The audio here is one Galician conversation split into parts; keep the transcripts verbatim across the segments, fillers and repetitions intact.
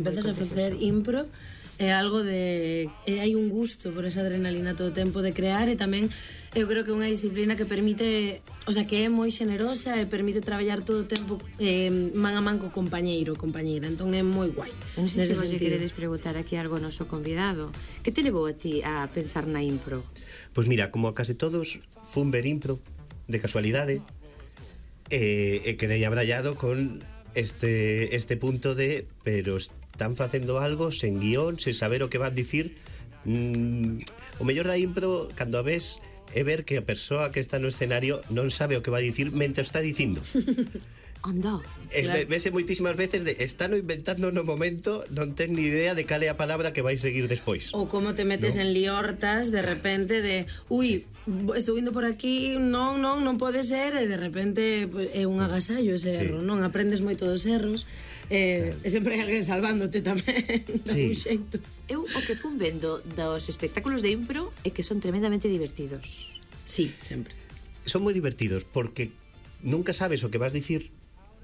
Empezas a facer impro, é algo de... E hai un gusto por esa adrenalina todo o tempo de crear, e tamén eu creo que é unha disciplina que permite, o sea, que é moi xenerosa e permite traballar todo o tempo eh, man a man co compañeiro, compañeira, entón é moi guai. Non sei se vos lle queredes preguntar aquí algo ao noso convidado. Que te levou a ti a pensar na impro? Pois mira, como a case todos, fun ver impro de casualidade e, e quedei abrallado con este, este punto de pero están facendo algo sen guión, sen saber o que van dicir. mm, o mellor da impro cando a ves é ver que a persoa que está no escenario non sabe o que vai dicir mentre o está dicindo. Anda, Eh, Claro. Vese moitísimas veces de están inventando no momento, non ten ni idea de cal é a palabra que vai seguir despois. Ou como te metes No. en liortas de repente de ui, estou indo por aquí, non, non, non pode ser, e de repente pues, é un agasallo ese Sí. erro, non? Aprendes moito dos erros, e, e sempre hai alguén salvándote tamén, de Sí. un xeito. eu o que fun vendo dos espectáculos de impro é que son tremendamente divertidos. Sí, sempre. Son moi divertidos porque nunca sabes o que vas dicir,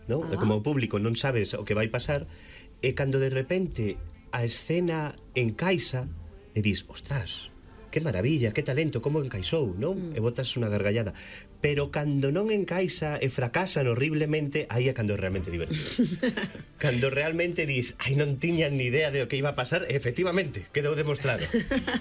¿no? Ah. Como público non sabes o que vai pasar, e cando de repente a escena encaixa e dis, ostras, que maravilla, que talento, como encaixou, non? Mm. E botas unha gargallada. Pero cando non encaixa e fracasan horriblemente, aí é cando é realmente divertido. Cando realmente dis, ai, non tiñan ni idea de o que iba a pasar, e efectivamente, quedou demostrado.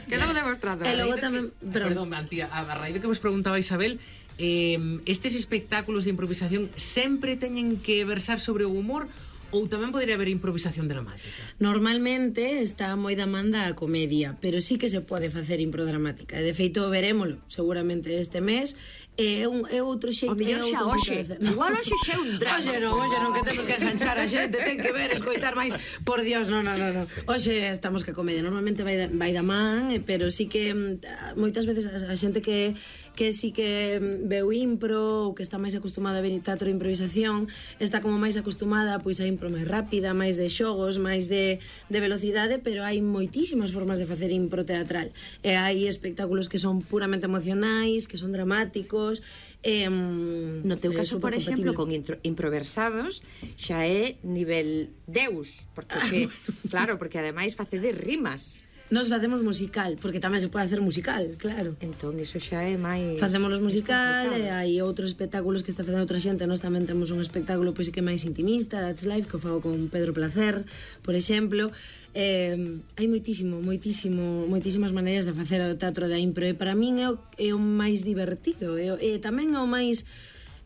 Quedou demostrado. E logo raíz de tamén, que- perdón, Perdón, Antía, a raíz de que vos preguntaba Isabel, eh, estes espectáculos de improvisación sempre teñen que versar sobre o humor ou tamén podería haber improvisación dramática? normalmente está moi da man da comedia, pero sí que se pode facer impro dramática. E de feito verémolo seguramente este mes. É un é outro xeito, O mellor é xa outro hoxe. xeito de facer. Igual hoxe xa é un drama. Hoxe non, hoxe non, que temos que enganchar a xente, ten que ver, escoitar máis. Por Dios, non, non, non, non. Hoxe estamos que comedia, normalmente vai da, vai da man, eh, pero sí que mm, moitas veces a, a xente que que sí que mm, veu impro ou que está máis acostumada a ver teatro de improvisación, está como máis acostumada pois a impro máis rápida, máis de xogos, máis de, de velocidade, pero hai moitísimas formas de facer impro teatral. E hai espectáculos que son puramente emocionais, que son dramáticos. Eh, No teu é caso, por supercompatible. exemplo, con intro, improversados xa é nivel Deus, porque Ah, que, bueno. claro, porque ademais facedes rimas. Nos facemos musical, porque tamén se pode hacer musical, claro. Entón, iso xa é máis... Facémonos musical, máis e hai outros espectáculos que está facendo outra xente. Nós tamén temos un espectáculo pois que é máis intimista, That's Life, que o fago con Pedro Placer, por exemplo. Eh, hai moitísimo, moitísimo, moitísimas maneiras de facer o teatro da impro, e para min é o, é o máis divertido, e, o- e tamén é o máis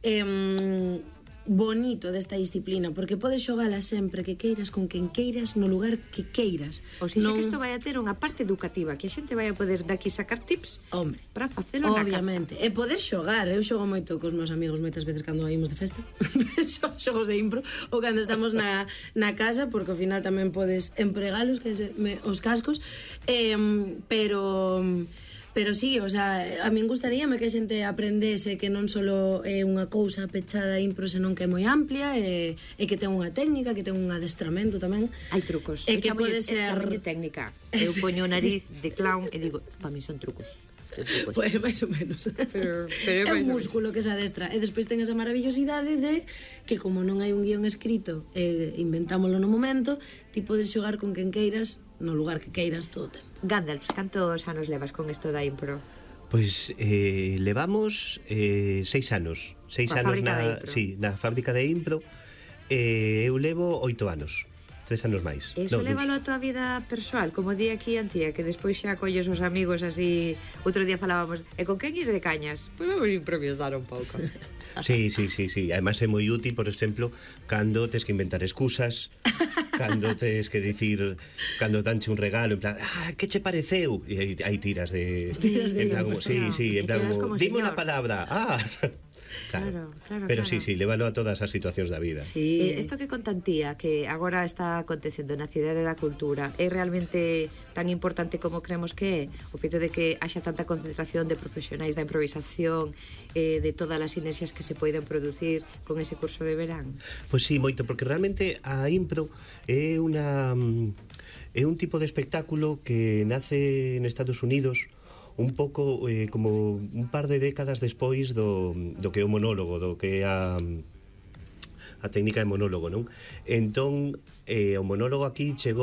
eh, bonito desta disciplina, porque podes xogala sempre que queiras, con quen queiras, no lugar que queiras. O sea, Non- que isto vai a ter unha parte educativa, que a xente vai a poder daqui sacar tips Hombre, para facelo na casa. obviamente. E poder xogar, eu xogo moito cos meus amigos moitas veces cando ímos de festa. Xo- Xogos de impro, ou cando estamos na, na casa, porque ao final tamén podes empregalos, que se, me, os cascos. Eh, pero pero sí, o sea, a min gustaríame que a xente aprendese que non só é unha cousa pechada a impro, senón que é moi amplia, e, e que ten unha técnica, que ten un adestramento tamén. Hai trucos. E Eu que chamolle- pode eu ser... chamolle técnica. Eu poño o nariz de clown e digo, para mí son trucos. Son trucos. Pois máis ou menos. Pero- pero é é máis un ou músculo que se adestra. E despois ten esa maravillosidade de que como non hai un guión escrito, e inventámolo no momento, ti podes xogar con quen queiras, no lugar que queiras todo o tempo. Gandalf, cantos anos levas con isto da impro? Pois eh, levamos eh, seis anos Seis Na anos fábrica de na, impro. sí, na fábrica de impro. eh, Eu levo oito anos, tres anos máis. Eso No, lévalo a tua vida persoal, como di aquí Antía, que despois xa colles os amigos así. Outro día falábamos, e con quen ir de cañas? Pois vamos a improvisar un pouco. Sí, sí, sí, sí. Además é moi útil, por exemplo, cando tes que inventar excusas, cando tes que dicir, cando danche un regalo, en plan, ah, que che pareceu? E aí, aí tiras de... Tiras de en plan, ellos, como, sí, claro. sí, E en plan, quedas como, como dime señor. unha palabra, ah... Claro, claro, Pero claro. sí, sí, lévalo a todas as situacións da vida. Sí. Eh, Isto que contantía, que agora está acontecendo na Cidade da Cultura, é realmente tan importante como creemos que é? O feito de que haxa tanta concentración de profesionais da improvisación, eh, de todas as sinerxias que se poden producir con ese curso de verán? Pois sí, moito, porque realmente a impro é unha mm, é un tipo de espectáculo que nace en Estados Unidos un pouco eh, como un par de décadas despois do, do que é o monólogo, do que é a a técnica de monólogo, non? Entón, eh, o monólogo aquí chegou